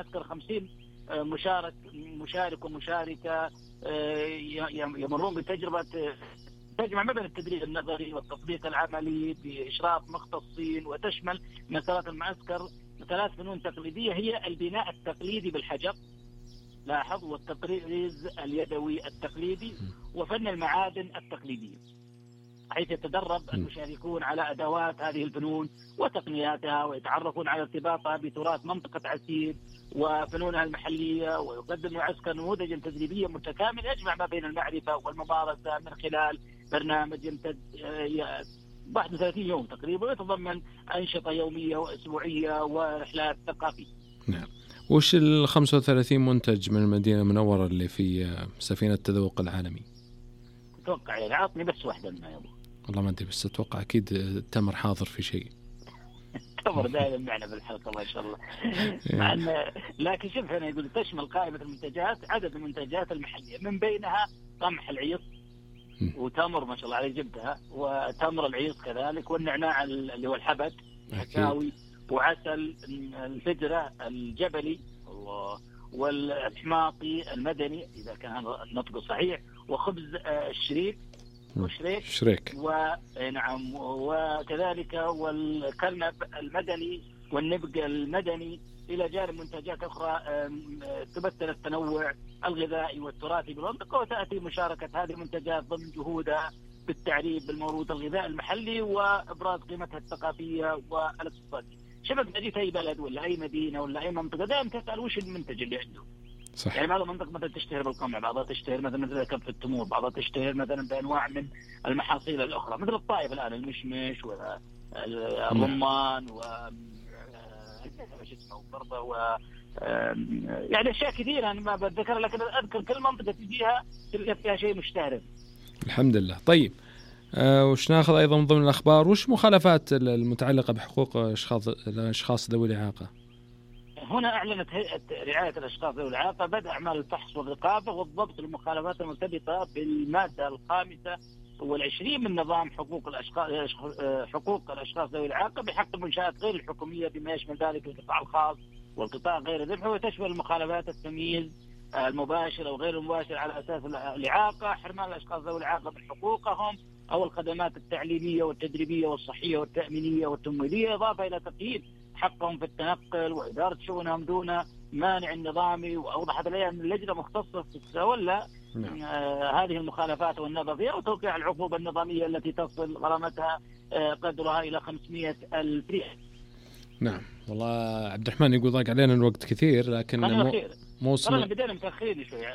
المعسكر 50 مشارك ومشاركة يمرون بتجربة تجمع ما بين التدريب النظري والتطبيق العملي بإشراف مختصين، وتشمل مسارات المعسكر 3 فنون تقليدية هي البناء التقليدي بالحجر، لاحظ، والتطريز اليدوي التقليدي، وفن المعادن التقليدية، حيث يتدرب المشاركون على أدوات هذه الفنون وتقنياتها، ويتعرفون على ارتباطها بتراث منطقة عسير وفنونها المحلية. ويقدم المعسكر نموذجا تدريبيا متكامل يجمع ما بين المعرفة والممارسة من خلال برنامج يمتد 31 يوم تقريبا، ويتضمن أنشطة يومية وأسبوعية ورحلات ثقافية. نعم. وش 35 منتج من المدينة المنورة اللي في سفينة التذوق العالمي؟ أتوقع يعني عطني بس واحدة ما يبغى. والله ما أدري، بس أتوقع أكيد تمر حاضر في شيء. تمر دائما معنا بالحلقة ما شاء الله. مع أن لكن شوف هنا يقول تشمل قائمة المنتجات عدد المنتجات المحلية، من بينها قمح العيط وتمر ما شاء الله عليه جبتها، وتمر العيط كذلك، والنعناع اللي هو الحبد الحكاوي، وعسل الفجرة الجبلي والحماطي المدني إذا كان النطق صحيح، وخبز الشريك شريك ونعم، وكذلك والكرنب المدني والنبق المدني، إلى جانب منتجات أخرى تمثل التنوع الغذائي والتراثي بالمنطقة. وتأتي مشاركة هذه المنتجات ضمن جهودها بالتعريف بالموروث الغذائي المحلي وإبراز قيمتها الثقافية والاقتصادية. شباب جيت أي بلد ولا أي مدينة ولا أي منطقة دائما تسأل وش المنتج اللي عنده. صح. يعني بعض المناطق مثلا تشتهر بالقمع، بعضها تشتهر مثلا كف التمور، بعضها تشتهر مثلا بأنواع من المحاصيل الأخرى، مثل الطائف الآن المشمش والرمان وش اسمه برضه يعني أشياء كثيرة أنا ما بتذكر، لكن أذكر كل منطقة تجيها تلقى فيها شيء مشتهر. الحمد لله. طيب وش ناخذ أيضا من ضمن الأخبار؟ وش مخالفات المتعلقة بحقوق الأشخاص ذوي الإعاقة؟ هنا أعلنت هيئة رعاية الأشخاص ذوي الإعاقة بدء أعمال الفحص والرقابة والضبط للمخالفات المرتبطة بالمادة 25 من نظام حقوق الأشخاص ذوي الإعاقة بحق المنشآت غير الحكومية، بما يشمل ذلك القطاع الخاص والقطاع غير الربحي، وتشمل المخالفات التمييز المباشر أو غير المباشر على أساس الإعاقة، حرمان الأشخاص ذوي الإعاقة من حقوقهم أو الخدمات التعليمية والتدريبية والصحية والتأمينية والتمويلية، إضافة إلى تقييد حقهم في التنقل وإدارة شؤونهم دون مانع نظامي. وأوضحت لي أن اللجنة مختصة تتولى هذه المخالفات والنظر فيها وتوقيع العقوبة النظامية التي تصل غرامتها قدرها إلى 500,000 ريال. نعم. والله عبد الرحمن يقول ضاق علينا الوقت كثير، لكن موسم بدينا متأخرين شوي،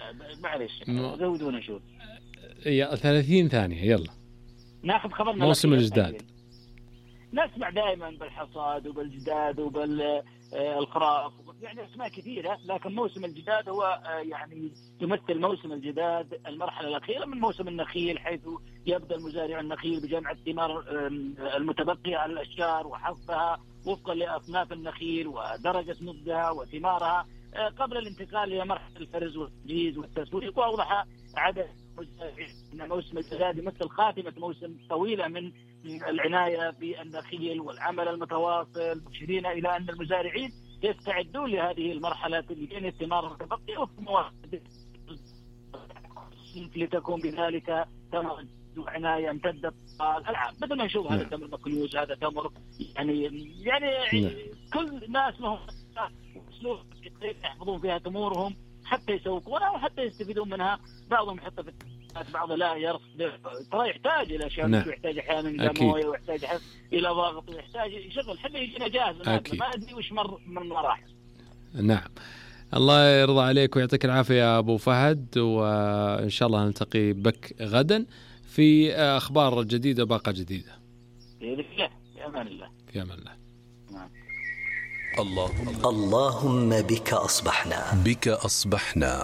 معلش زودونا شوي. 30 ثانية يلا ناخذ خبرنا. موسم الجداد نسمع دائما بالحصاد وبالجداد وبالخراف، يعني اسماء كثيرة، لكن موسم الجداد هو يعني يمثل موسم الجداد المرحلة الأخيرة من موسم النخيل، حيث يبدأ المزارع النخيل بجمع الثمار المتبقية على الأشجار وحصدها وفقا لأصناف النخيل ودرجة نضجها وثمارها قبل الانتقال إلى مرحلة الفرز والتجهيز والتسويق. وأوضح عدد أن موسم الجداد يمثل خاتمة موسم طويلة من العناية بالنخيل والعمل المتواصل، مشيرين إلى أن المزارعين يستعدون لهذه المرحلة لبين الثمار المتبقية وفق لتكون بذلك تمر عناية امتدت العام. مثل ما نشوف هذا تمر مكنوز، هذا تمر يعني كل ناس لهم أسلوب يحفظون فيها تمورهم حتى يسوقونها وحتى يستفيدون منها. بعضهم يحط في بعض لا يرصد، ترى يحتاج إلى أشياء، يحتاج أحيانا إلى موية، ويحتاج إلى ضغط، ويحتاج يشغل حتى يجينا جاهز. ما أدري وش مر من مراحل. نعم. الله يرضى عليك ويعطيك العافية يا أبو فهد، وإن شاء الله نلتقي بك غدا في أخبار جديدة باقة جديدة. في أمان الله. في أمان الله. اللهم بك أصبحنا.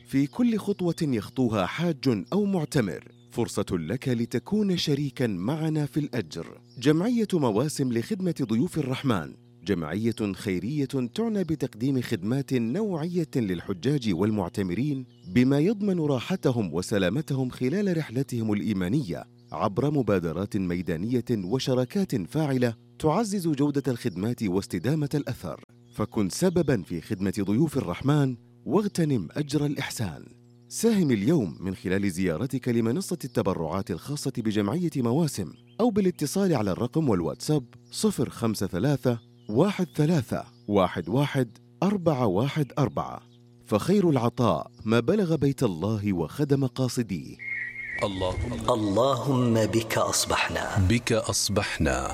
في كل خطوة يخطوها حاج أو معتمر فرصة لك لتكون شريكا معنا في الأجر. جمعية مواسم لخدمة ضيوف الرحمن جمعية خيرية تعنى بتقديم خدمات نوعية للحجاج والمعتمرين بما يضمن راحتهم وسلامتهم خلال رحلتهم الإيمانية عبر مبادرات ميدانية وشراكات فاعلة تعزز جودة الخدمات واستدامة الأثر. فكن سبباً في خدمة ضيوف الرحمن واغتنم أجر الإحسان. ساهم اليوم من خلال زيارتك لمنصة التبرعات الخاصة بجمعية مواسم أو بالاتصال على الرقم والواتساب 053 13 11 414. فخير العطاء ما بلغ بيت الله وخدم قاصديه. اللهم بك أصبحنا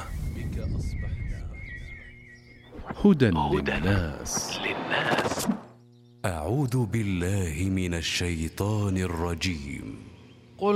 هدى للناس. أعوذ بالله من الشيطان الرجيم.